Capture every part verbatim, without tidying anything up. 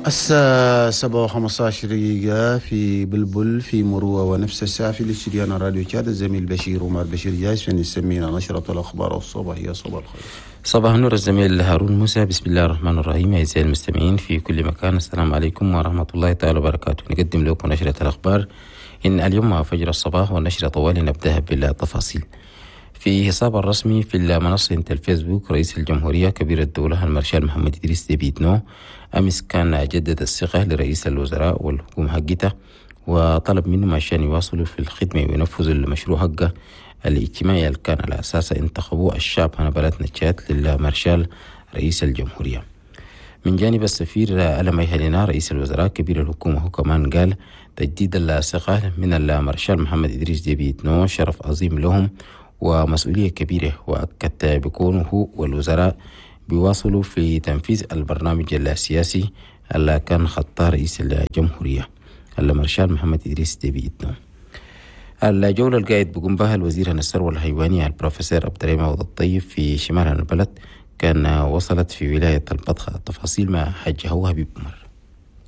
الساعة سبعة وخمسة عشر دقيقة في بلبل، في مروة، ونفس الساعة في الاستديو راديو تشاد. الزميل بشير عمر بشير جاهز عشان يسمينا نشرة الأخبار الصباحية. صباح الخير. صباح النور الزميل هارون موسى. بسم الله الرحمن الرحيم. أعزائي المستمعين في كل مكان، السلام عليكم ورحمة الله تعالى وبركاته. نقدم لكم نشرة الأخبار إن اليوم مع فجر الصباح، والنشرة طوالي نبدأها بالتفاصيل. في حساب الرسمي في المنصة الفيسبوك، رئيس الجمهورية كبير الدولة المارشال محمد إدريس ديبي إتنو أمس كان جدد الثقة لرئيس الوزراء والحكومة حقته، وطلب منهم عشان يواصلوا في الخدمة وينفذوا المشروع حقه الاجتماعي اللي كان على أساسه انتخبوا الشعب هنا بلدنا تشاد للمارشال رئيس الجمهورية. من جانب السفير ألمي هلينا، رئيس الوزراء كبير الحكومة هو كمان قال تجديد الثقة من المارشال محمد إدريس ديبي إتنو شرف عظيم لهم ومسؤولية كبيرة، وأكد بكونه هو والوزراء بيواصلوا في تنفيذ البرنامج السياسي اللي كان خطاه رئيس الجمهورية المارشال محمد إدريس ديبي إتنو. الجولة القاعد بقوم بها الوزير الثروة الحيوانية البروفيسور عبد الرحيم عوض الطيب في شمال البلد كان وصلت في ولاية البطحة. التفاصيل مع حاج هو حبيب عمر.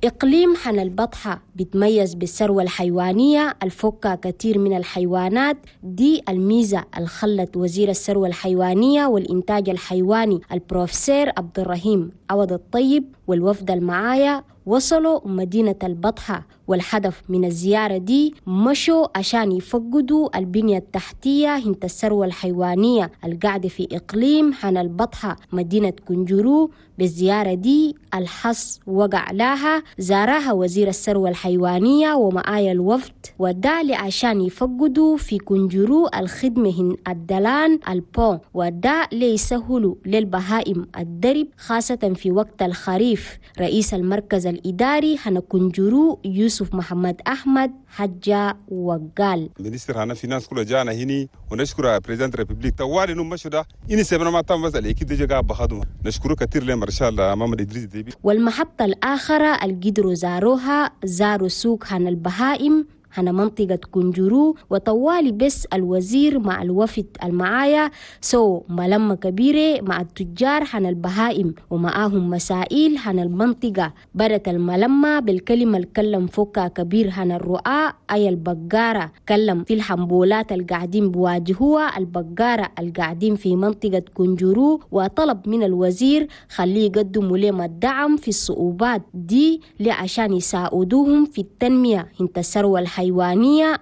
إقليم حنا البطحة بيتميز بالثروة الحيوانية الفوكا كثير من الحيوانات. دي الميزة الخلت وزير الثروة الحيوانية والإنتاج الحيواني البروفيسور عبد الرحيم عوض الطيب والوفد المعايا وصلوا مدينة البطحة، والهدف من الزيارة دي مشوا عشان يفقدوا البنية التحتية هنت الثروة الحيوانية القاعدة في إقليم حنا البطحة، مدينة كنجرو. بالزيارة دي الحص وقع لها زارها وزير الثروة الحيوانية ومعايا الوفد، وده عشان يفقدوا في كنجرو الخدمة هن الدلان ال pont، وده ليسهلوا للبهائم الدرب خاصة في وقت الخريف. رئيس المركز الإداري هنا كنجرو يوسف محمد أحمد حجة وقال: ministre هنا finance كله جانا هني، ونشكر président république طوالي نوم مشوا ده إني سبنا ما تم بس l'équipe دي جا بخدمه. نشكره كثير لمارشال محمد إدريس ديبي. والمحطة الآخرة القدروا زاروها، زاروا سوق هنا البهائم هنا منطقة كنجرو، وطوالي بس الوزير مع الوفد المعايا سو ملمة كبيرة مع التجار هنا البهائم ومعاهم مسائل هنا المنطقة. بدت الملمة بالكلمة الكلم فوكا كبير هنا الرعاة أي البقارة، كلم في الحنبولات القاعدين بواجهوها البقارة القاعدين في منطقة كنجرو، وطلب من الوزير خليه يقدموا لهم الدعم في الصعوبات دي لعشان يساعدوهم في التنمية هنت الثروة الحيوانية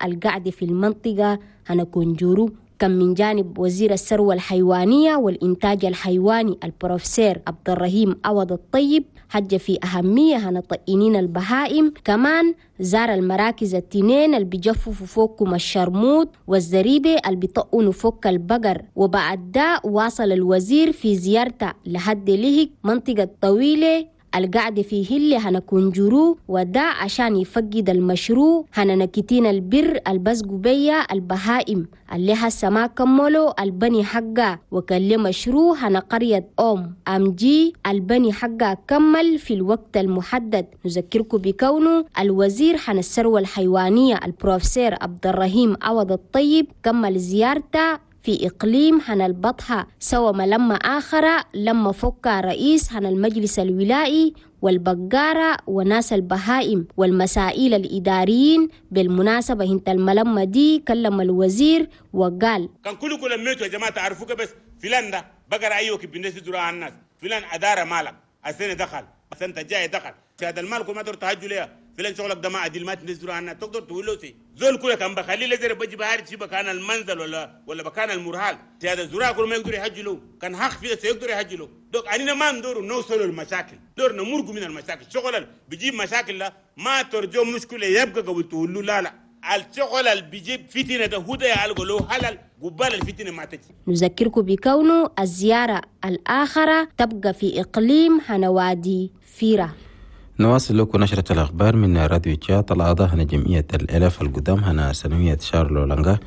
القاعدة في المنطقة هنا كنجرو. كم من جانب وزير الثروة الحيوانية والإنتاج الحيواني البروفيسور عبد الرحيم عوض الطيب حج في أهمية هنا طئنين البهائم. كمان زار المراكز التنين اللي بيجففوا فوقكم الشرموط والزريبة اللي بيطقنوا فوق البقر. وبعد ده واصل الوزير في زيارته لحد لهك منطقة طويلة القعدة في هلة هنا كنجرو، وده عشان يفقد المشروع هنا نكتين البر البسقو بيا البهائم اللي هسه ما كملوا البني حقا، وكان مشروع هنا قرية أم أمجي البني حقا كمل في الوقت المحدد. نذكركم بكونه الوزير هنا الثروة الحيوانية البروفيسور عبد الرحيم عوض الطيب كمل زيارته في إقليم هنا البطحة سوى ملمة آخرة لما فك رئيس هنا المجلس الولائي والبقارة وناس البهائم والمسائل الإداريين. بالمناسبة هنت الملمة دي كلم الوزير وقال: كان كل كل ميتوا يا جماعة تعرفوك، بس فلان ده بقر أيوة بالنسبة زراعة الناس، فلان أدار مالك السنة دخل، السنة الجاية دخل هذا المال ما تقدر تهجوا ليه، فلان شغلك ده ما عدل ما تنزلوا عنها. تقدر تقول له سي زول كله كان بخليه لزر بجي بهاري شي بكان المنزل ولا ولا بكان المرحال. هذا الزراعة كله ما يقدر يحجلوا، كان حق فيه سيقدر يحجلوا. دوك أننا ما ندور نوصلوا المشاكل، دور نمرقوا من المشاكل. شغل بيجيب مشاكل لا ما ترجو مشكلة يبقى قبل تقول له لا لا، الشغل اللي بيجيب فتنة ده هو ده يعالجوا له حلال قبال الفتنة ما تجي. نذكركم بكونه الزيارة الآخرة تبقى في إقليم هنوادي فيرة. نواصل لكم نشرة الأخبار من راديو تشاد. الأعضاء هنا جمعية الألف القدام هنا سنوية شارلو لانغا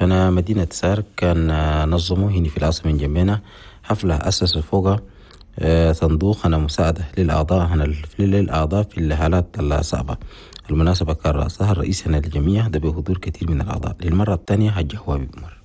هنا مدينة سار كان نظموا هنا في العاصمة جنبنا حفلة أسسوا فوق صندوق هنا مساعدة للأعضاء هنا للأعضاء في الحالات الصعبة. المناسبة كان رأسها الرئيس هنا للجميع ده بحضور كثير من الأعضاء. للمرة الثانية حج هو بمر.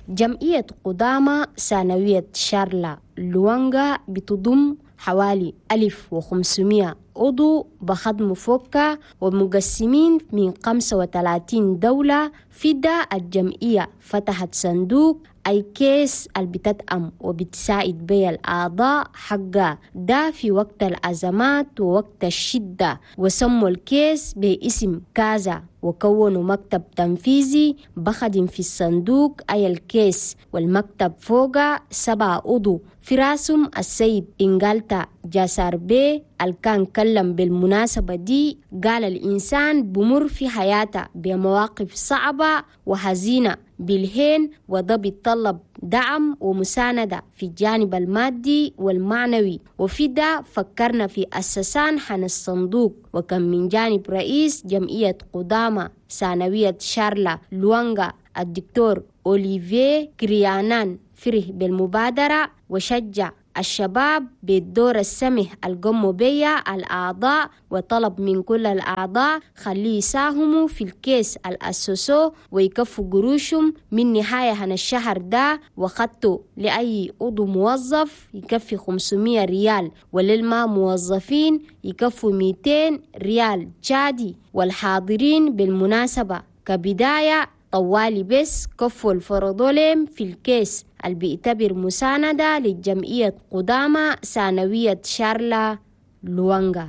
جمعية قدامى ثانوية شارلا لوانغا بتضم حوالي ألف وخمسمية عضو بخدموا فوكا ومقسمين من خمسة وثلاثين دولة. فدا الجمعية فتحت صندوق أي كيس اللي بتدعم وبتساعد بي الأعضاء حقا ده في وقت الأزمات ووقت الشدة، وسموا الكيس باسم كازا، وكونوا مكتب تنفيذي بخدم في الصندوق أي الكيس، والمكتب فوق سبع عضو في راسهم السيد إنجالتا جاسار بي اللي كان كلم بالمناسبة دي. قال الإنسان بمر في حياته بمواقف صعبة وحزينة بالهين، وده بيتطلب دعم ومساندة في الجانب المادي والمعنوي، وفي ده فكرنا في أسسان حن الصندوق. وكان من جانب رئيس جمعية قدامى ثانوية شارلا لوانغا الدكتور أوليفيه كريانان فرح بالمبادرة وشجع الشباب بالدور السمح القموا بيا الأعضاء، وطلب من كل الأعضاء خليه يساهموا في الكيس الأسسو ويكفوا قروشهم من نهاية هن الشهر ده، وخدتوا لأي عضو موظف يكفي خمسمية ريال، وللما موظفين يكفوا مئتين ريال تشادي. والحاضرين بالمناسبة كبداية طوالي بس كفوا الفرضوليم في الكيس اللي بيعتبر مساندة للجمعية قدامى ثانوية شارلا لوانغا.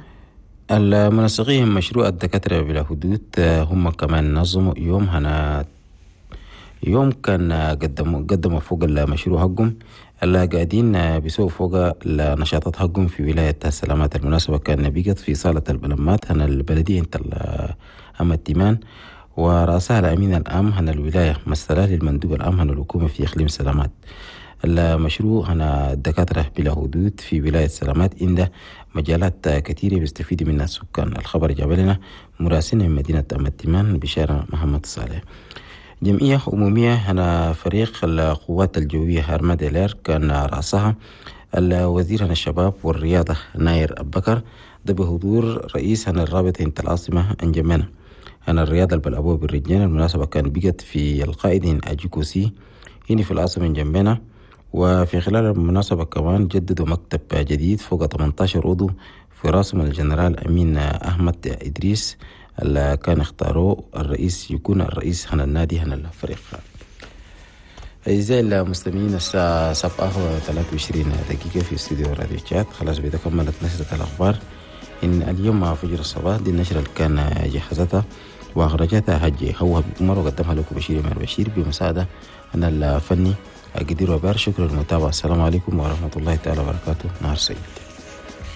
المنسقين مشروع الدكاترة بلا حدود هم كمان نظموا يوم هنا يوم كان قدموا قدموا فوق المشروع حقهم اللي قاعدين بيسووا فوق النشاطات حقهم في ولاية السلامات. المناسبة كان بيقت في صالة البلمات هنا البلدية انت أما التيمان، ورأسها الأمين العام هنا الولاية مثلا للمندوب العام هنا الحكومة في إقليم سلامات. المشروع هنا الدكاترة بلا حدود في ولاية سلامات عند مجالات كثيرة بيستفيد منها السكان. الخبر جاب لنا مراسلنا من مدينة أم التيمان بشارة محمد صالح. جمعية عمومية هنا فريق القوات الجوية هرماد إلير كان رأسها الوزير هنا الشباب والرياضة ناير أبكر، ده بحضور رئيس هنا الرابطة انت العاصمة أنجمنا هنا الرياضة البلعبوة بالرجال. المناسبة كان بقت في القائد أجيكوسي هنا في العاصمة جنبنا. وفي خلال المناسبة كمان جددوا مكتب جديد فوق ثمانية عشر عضو في راسهم الجنرال أمين أحمد إدريس اللي كان اختاروه الرئيس يكون الرئيس هنا النادي هنا الفريق. أعزائي المستمعين الساعة سبعة وثلاثة وعشرين دقيقة في استوديو راديو تشاد. خلاص بإذا كملت نشرة الأخبار إن اليوم مع فجر الصباح. دي النشرة اللي كان جهزتها وأخرجتها هجي هو عمر وقدمها لكم بشير إمام بشير بمساعدة أنا الفني قدير وبار. شكرا للمتابعة. السلام عليكم ورحمة الله تعالى وبركاته. نهار سعيد.